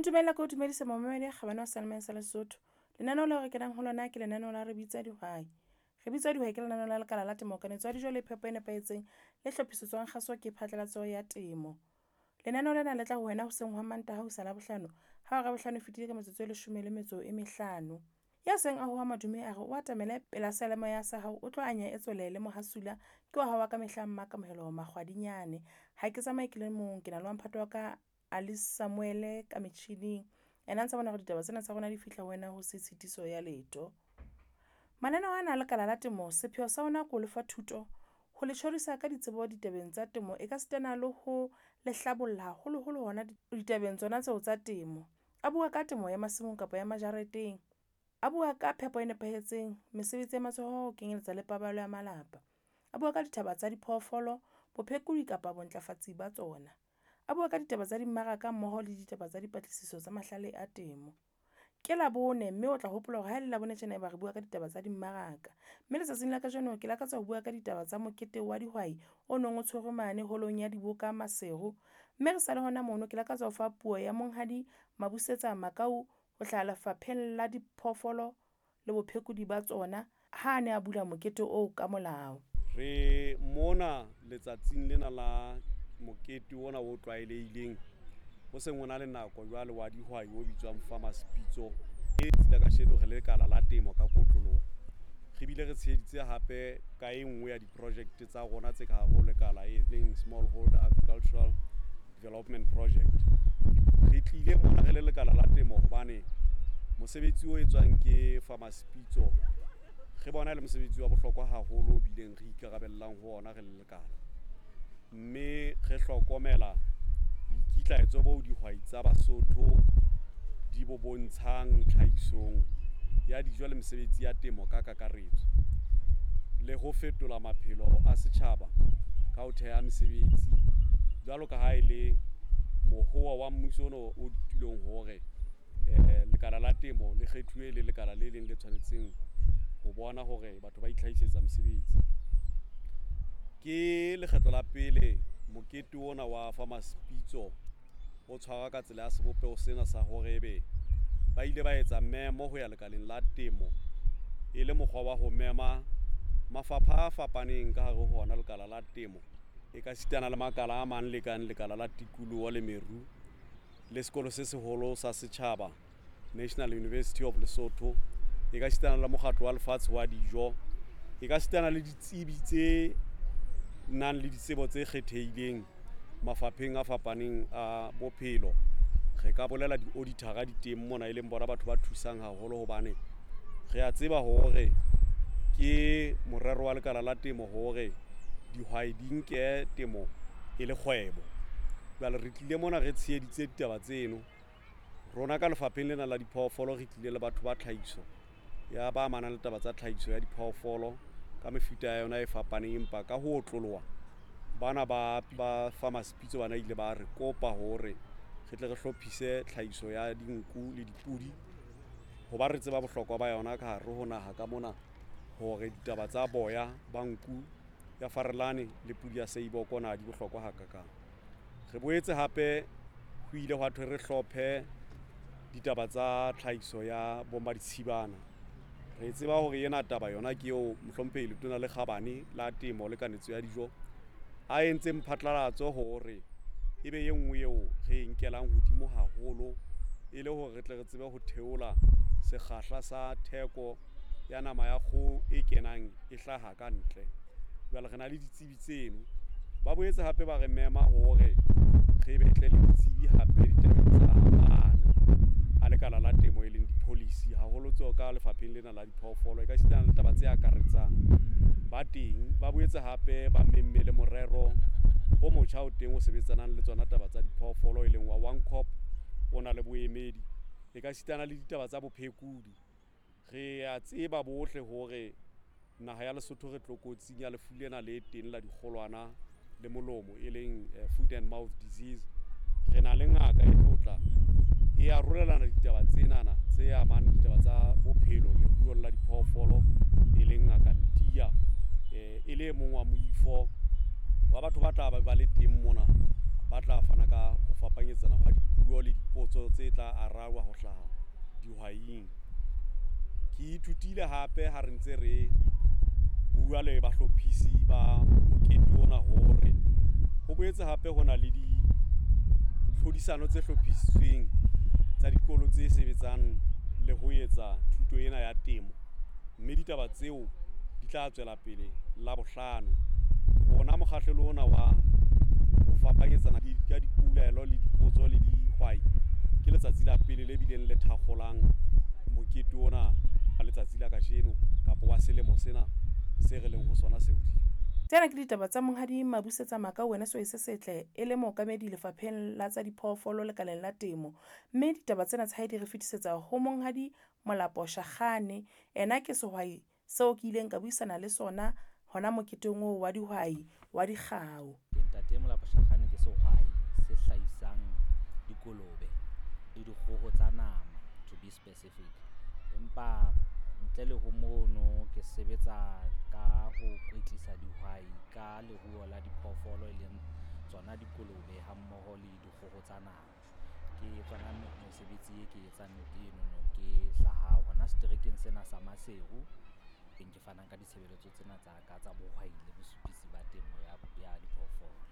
Ntumella ke o dumedise momamedi ya kgabane wa seyalemoya sa Lesotho. Lenaneo leo re kenang ho lona ke lenaneo la re bitsa dihwai. Re bitsa dihwai ke lenaneo la lekala la temo kanetso ya dijo le phepo e nepahetseng le hlophisetswang kgaso ke phatlalatso ya temo. Lenaneo lena le tla ho wena hoseng hwa Mantaha ho isa Labohlano ha hora ya bohlano e fetile ka metsotso e leshome le metso e mehlano. Ya seng a hoa madume a re o atamele pela seyalemoya sa hao o tlo anya e tswele le mohasula ke wa hao wa ka mehla Mmakamohelo Makgwadinyane. Ha ke tsamaye ke le mong, ke na le wa mphato wa ka Alice Samuel ka metjhining. Ena a ntsa bona hore ditaba tsena tsa rona di fihla ho wena ho se tshitiso ya letho. Mananeo ana a lekala la temo sepheo sa ona ke ho lefa thuto, ho le tjhorisa ka ditsebo ditabeng tsa temo e ka sitana le ho le hlabolla haholoholo hona ditabeng tsona tseo tsa temo. A bua ka temo ya masimong kapa ya majareteng, a bua ka phepo e nepahetseng, mesebetsi ya matsoho ho kenyeletsa le paballo ya malapa. A bua ka dithaba tsa diphoofolo, bophekodi kapa bontlafatsi ba tsona. A bua ka ditaba tsa dimmaraka mmoho le ditaba tsa dipatlisiso tsa mahlale a temo. Ke Labone mme o tla hopola hore ha ele Labone tjena eba re bua ka ditaba tsa dimmaraka. Mme letsatsing la kajeno ke lakatsa ho bua ka ditaba tsa mokete wa dihwai o nong o tshwerwe mane holong ya diboka Maseru. Mme re sa le hona mono, ke lakatsa ho fa puo ya Monghadi Mabusetsa Makau ho hlaha lefapheng la diphoofolo le bophekodi ba tsona ha a ne a bula mokete oo ka molao. Re mona letsatsing lena la mokete ona o tlwaelehileng ho seng ho na le nako jwale wa dihwai o bitswang Farmers Pitso. E tsila kasheno re le lekala la temo ka kotloloho. Re bile re tsheheditse hape ka e nngwe ya di-project tsa rona tse ka hare ho lekala e leng Smallholder Agricultural Development Project. Re tlile mona re le lekala la temo hobane mosebetsi o etswang ke Farmers Pitso re bona e le mosebetsi wa bohlokwa haholo o bileng re ikarabellang ho ona re le lekala. Mme re hlokomela boikitlaetso bo dihwai tsa Basotho di bo bontshang tlhahisong ya dijo le mesebetsi ya temo ka kakaretso, le ho fetola maphelo a setjhaba ka ho theha mesebetsi jwalo ka ha e le mohoa wa mmuso ona o tulong hore lekala la temo le kgethuwe le lekala le leng le tshwanetseng ho bona hore batho ba itlhahisetsa mosebetsi. Ke lekgetlo la pele mokete ona wa Farmers Pitso o tshwarwa ka tsela ya sebopeho sena sa hore ebe ba ile ba etsa memo ho ya lekaleng la temo e le mokgwa wa ho mema mafapha a fapaneng ka hare ho hona lekala la temo e ka sitana le makala a mang le kang lekala la tikoloho le meru le sekolo se seholo sa setjhaba National University of Lesotho e ka sitana le mokgatlo wa lefatshe wa dijo e ka sitana le ditsebi tse nang le ditsebo tse kgethehileng mafapheng a fapaneng a bophelo. Re ka bolela di-auditor-a di teng mona e leng bona batho ba thusang haholo hobane re a tseba hore ke morero wa lekala la temo hore dihwai di nke temo e le kgwebo. Jwale re tlile mona re tsheheditse ditaba tseno. Rona ka lefapheng lena la diphoofolo re tlile le batho ba tlhahiso ya ba amanang le taba tsa tlhahiso ya diphoofolo ka mefuta ya yona e fapaneng, empa ka ho otloloha bana ba Farmers Pitso bana ile ba re kopa hore re tle re hlophise tlhahiso ya dinku le dipudi hoba re tseba bohlokwa ba yona ka hare ho naha ka mona, hore ditaba tsa boya ba nku ya farelane le pudi ya seiboko na di bohlokwa hakakang. Re boetse hape ho ile hwa thwe re hlophe ditaba tsa tlhahiso ya bomma ditshibana. Re tseba hore ena taba yona ke eo mohlomphehi Letona le Kgabane la Temo le Kanetso ya Dijo a entseng phatlalatso hore ebe e nngwe eo re e nkelang hodimo haholo e le hore re tle re tsebe ho theola sekgahla sa theko ya nama ya kgoho e kenang e hlaha ka ntle. Jwale re na le ditsebi tseno. Ba boetse hape ba re mema hore re betle le ditsebi hape ditabeng tsa maano a lekala la temo e leng di-policy haholo tseo ka lefapheng lena la diphoofolo e ka sitana le taba tse akaretsang ba teng. Ba boetse hape ba memme le morero o motjha o teng o sebetsanang le tsona taba tsa diphoofolo e leng wa One Cop o na le boemedi e ka sitana le ditaba tsa bophekodi. Re a tseba bohle hore naha ya Lesotho re tlokotsing ya lefu lena le teng la dikgolwana le molomo e leng foot and mouth disease. Re na le ngaka e tlotla e arolelana ditaba tsenana tse amang ditaba tsa bophelo leruong la diphoofolo e leng ngaka Ntiya, e le e mong wa moifo wa batho ba tla ba le teng mona ba tla fana ka ho fapanyetsana hwa dipuo Dipuo le dipotso tse tla arabjwa ho hlaha dihwaing. Ke ithutile hape ha re ntse re bua le bahlophisi ba mokete ona hore ho boetse hape ho na le ditlhodisano tse hlophisitsweng tsa dikolo tse sebetsang le ho etsa thuto ena ya temo, mme ditaba tseo di tla tswela pele Labohlano. Rona mokgahlelo ona wa ho fapanyetsana ka dipolelo le dipotso le dihwai ke letsatsi la pele le bileng le thakgolang mokete ona wa letsatsi la kajeno kapa wa selemo sena se re leng ho sona se hodimo. Tsena ke ditaba tsa Monghadi Mabusetsa Makau wena sehwai se setle e le mookamedi lefapheng la tsa diphoofolo lekaleng la temo. Mme ditaba tsena tsa hae di re fetisetsa ho Monghadi Molapo Shakhane. Ena ke sehwai seo ke ileng ka buisana le sona hona moketeng oo wa dihwai wa dikgau. Ke Ntate Molapo Shakhane, ke sehwai se hlahisang dikolobe le dikgoho tsa nama, to be specific. Empa ntle le ho mono, ke sebetsa ka ho kwetlisa dihwai ka leruo la diphoofolo, e leng tsona dikolobe ha mmoho le dikgoho tsa nama. Ke tsona mesebetsi e ke etsang enono. Ke hlaha hona seterekeng sena sa Maseru, teng ke fanang ka ditshebeletso tsena tsa ka tsa bohwai le bosupisi ba temo ya diphoofolo.